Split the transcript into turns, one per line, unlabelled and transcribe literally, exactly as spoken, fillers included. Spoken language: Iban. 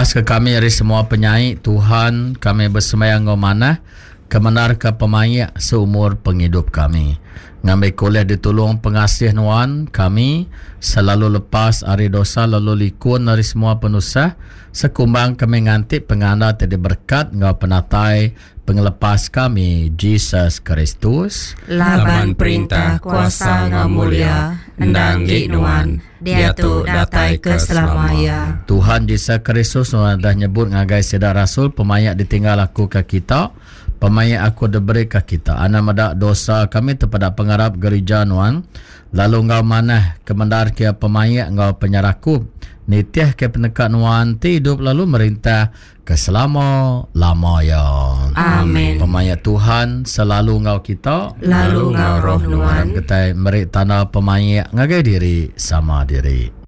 Lepas ke kami ari semua penyai Tuhan, kami besembahyang enggau manah, kemendarka pemaik seumur pengidup kami. Ngambi kulih ditulung pengasih nuan kami selalu lepas ari dosa lalu likun dari semua penusah sekumbang kami nganti penganda ti diberkat enggau penatai pengelepas kami Jesus Kristus.
Laban perintah kuasa enggau mulia endang gi nuan diatu datai ke selama iya.
Tuhan Jesus Kristus nuan dah nyebut ngagai sida rasul pemayak ditinggal aku ke kita pemayak aku diberi ke kita. Ana medak dosa kami terpada pengarap gereja nuan lalu enggau manah kemendar ke pemayak enggau penyerakup nitih ke peneka nuan ti hidup lalu merintah ke selama lama ya.
Amin.
Pemayak Tuhan selalu enggau kita
Lalu enggau roh nuan.
Kita meri tanda pemayak ngagai diri sama diri.